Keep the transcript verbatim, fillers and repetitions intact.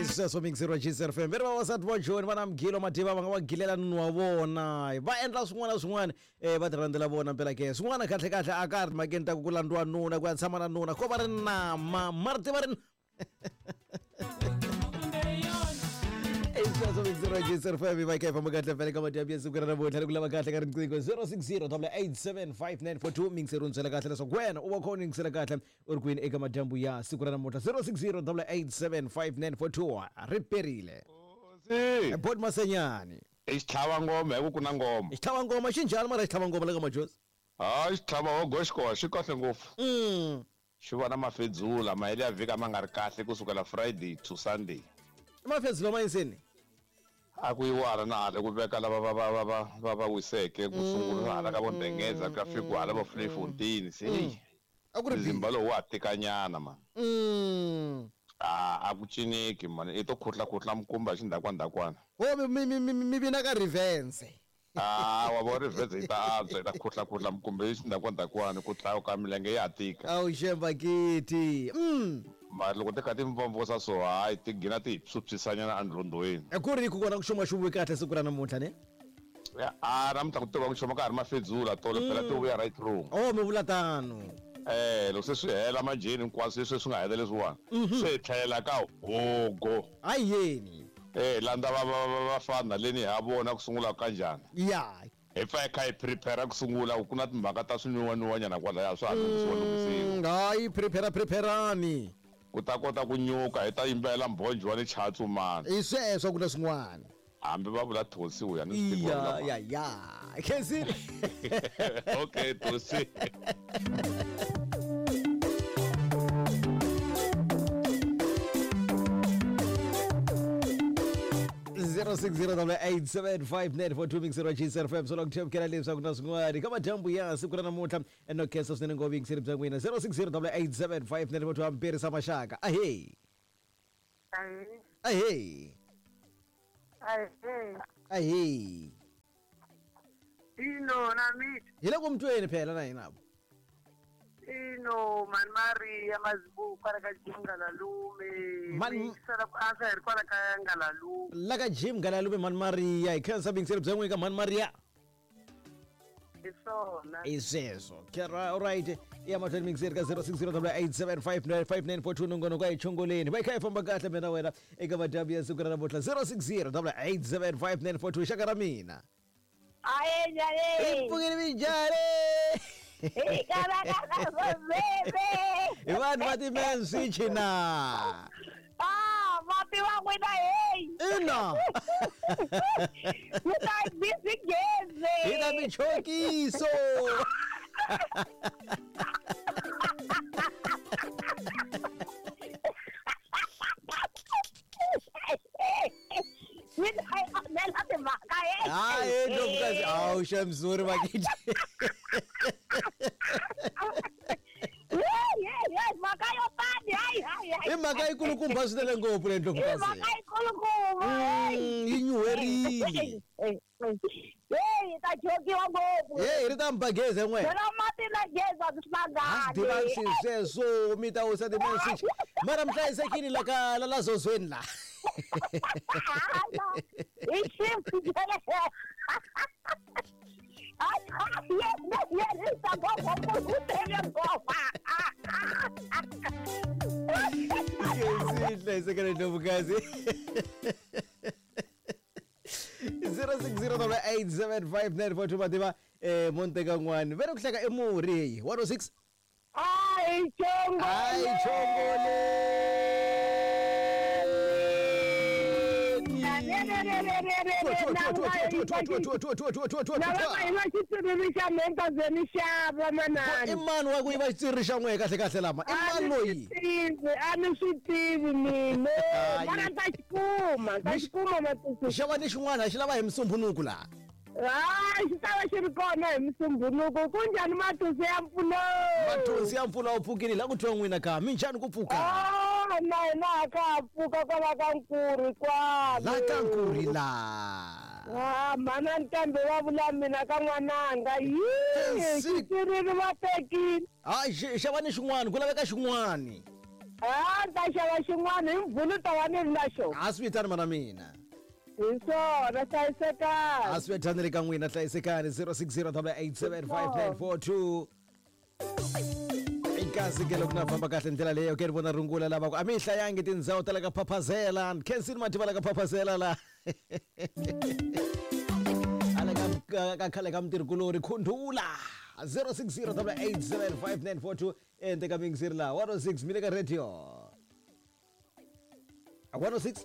Sweswo mixero G C F M. Veri vavasati vo Joni va na mugilo mativa va nga va gilela nunu wa vona. Va endla swin'wana na swin'wana eh va tirhandzela vona mpela ke. Swin'wana kahle kahle a ka ri timhakeni ta ku ku landziwa nuna ku ya tshama na nuna ko va ri nama mara ti va ri Sweswo mixero G C F M va kha famba kahle vele ka madyambu ya siku ra namuntlha ku lava kahle ka riqingho zero six zero eight seven five nine four two mixero ntsela kahle leswaku wena u va khona yingisela kahle u ri kwini eka madyambu ya siku ra namuntlha zero six zero eight seven five nine four two ri perile. Si. Bot Masenyani. I xitlhava ngoma hi ku ku na ngoma. Xitlhava ngoma xi njhani mara xitlhava ngoma la ka majozi? Hayi xitlhava hogo xikoxa xi kahle ngopfu. Mm. Xi va na mafedzula mahele ya vhiki a ma nga ri kahle kusukela Friday to Sunday. Mafedzula ma yiseni? A ku yiwara na hala ku veka lava va va va va va va wiseke ku sungula hala ka vondengeza ku ya fika hala va Vleifontein se hey. A ku ri Zimba lowu wa tikanyana man. Mm. A a ku cineki man i to khutla khutla mkumba xi ndhakwa ndhakwana. Ho mi mi mi mi vina ka revenge. Ah wa vo revenge yi ta antswa yi ta khutla khutla mkumba xi ndhakwa ndhakwana ku tlayo ka milenge ya tika. Awu xemba kiti. Mm. Mara loko ti kha ti mvomvosa so hayi ti gina ti hi phyuphyisanyana endlondweni. Ku ri ku kona ku xuma xuvuyi kahle siku ra namuntlha ne? A namuntlha ku tiva ku xuma ka ha ri mafedzula tolo phela ti vuya right through. Oh mi vula tano. Eh loko se swi hela manjheni hinkwaswo leswi swi nga hela leswiwani se hi tlhelela ka hogo. Ayeni. Eh landza va va vafana leni ha vona ku sungula ka njhani. Ya. Hi pfa hi kha hi prepare ku sungula ku na timhaka ta swinwiwanwiwanyana kwalaya swa ha lunghisiwa lunghisiwa. Hayi prepare preparani. Ku ta kota ku nyuka hi ta yimbelela mbhonjo wa le Chatsumani. I sweswo ku na swin'wana. Hambi va vula Thosi u ya ni swi tiva. Ya ya ya. Khensile. Okay Thosi. zero six zero eight seven five nine four two mixero G C F M solo ku themkela leswaku na swin'wana ka madyambu ya siku ra namuntlha no khensa swinene ngopfu yingiseri bya n'wina zero six zero eight seven five nine four two ambirisa maxaka. Ahey. Ahey. Ahey. Ahey. Ino na mit. Hi le ku mutweni phela na hina. Ino man Maria Mazibuko kwala ka Jim Ngalalume. Man sala ku ansa hi kwala ka Ngalalume. La ka Jim Ngalalume man Maria hi khensa bingiseri bya n'wina ka man Maria. Hi swona. I sweswo. All right. Ya mahlweni mingiseri ka zero six zero eight seven five nine five nine four two nongonoko a hi chongoleni. Va hi kha hi famba kahle mina wena eka madyambu ya siku ra namuntlha zero six zero eight seven five nine four two xaka ra mina. Aye njhani? I pfukile minjhani? Hi vanhu va ti-man switch na. Ah, mati wa n'wina hey. Ina. Mi ta busy gezi. Hi ta michokiso. Mi ta yi onhela timhaka hey. Hayi ndlovukazi awu xamzuri vakithi. I mhaka yikulukumba swinene ngopfu le ndlovukazi. I mhaka yikulukumba. Yi nyuherile. Hey, ta jokiwa ngopfu. Hey, ri ta mi ba gezi n'we. Phela mati na gezi a swi hlangani. Swi tiva sweswo mi ta wisa ti-message. Mara mi hlayisekile la ka la la zozweni la. I shift. Sihle ndlovukazi. zero six zero eight seven five nine four two mativa eh monteka n'wani vere ku hleka emurhi heyi one oh six. Ai chongole. Ai chongole. I mani wa ku yiva xitswiriri xa n'wehe kahle kahle lama i mani loyi? A ni swi tivi mina mara ta xi kuma ta xi kuma matuku. Xava ni xin'wana xi lava hi musumbunuku laha. Hayi xi ta va xi ri kona hi musumbunuku. Ku njhani matusi ya mpfuno? Matusi ya mpfuno wu pfukile la ku twa n'wina ka minjhani ku pfuka? Ah na hina a ka ha pfuka kwala ka Nkuri kwale. La ka Nkuri la. Ah mana ntambe wa vula mina ka n'wananga yi xitswiriri va tekile. Hayi xava ni xin'wana ku laveka xin'wana. A ni ta xava xin'wana hi mvuluta wa ni ri na xona. A swi vitani mana mina. Hi swona hlayisekani. A swi vitani le ka n'wina hlayisekani zero six zero double eight seven five nine four two. Kasi ke loko na famba kahle ndlela leyo ke ri vona rungula lava ku a mi yi hlayangi tindhawu ta le ka phaphazela khensini mativa la ka phaphazela la ala ka ka khale ka mutirhikulori khundula zero six zero double eight seven five nine four two ente ka mingiseri la one oh six mi le ka radio one oh six.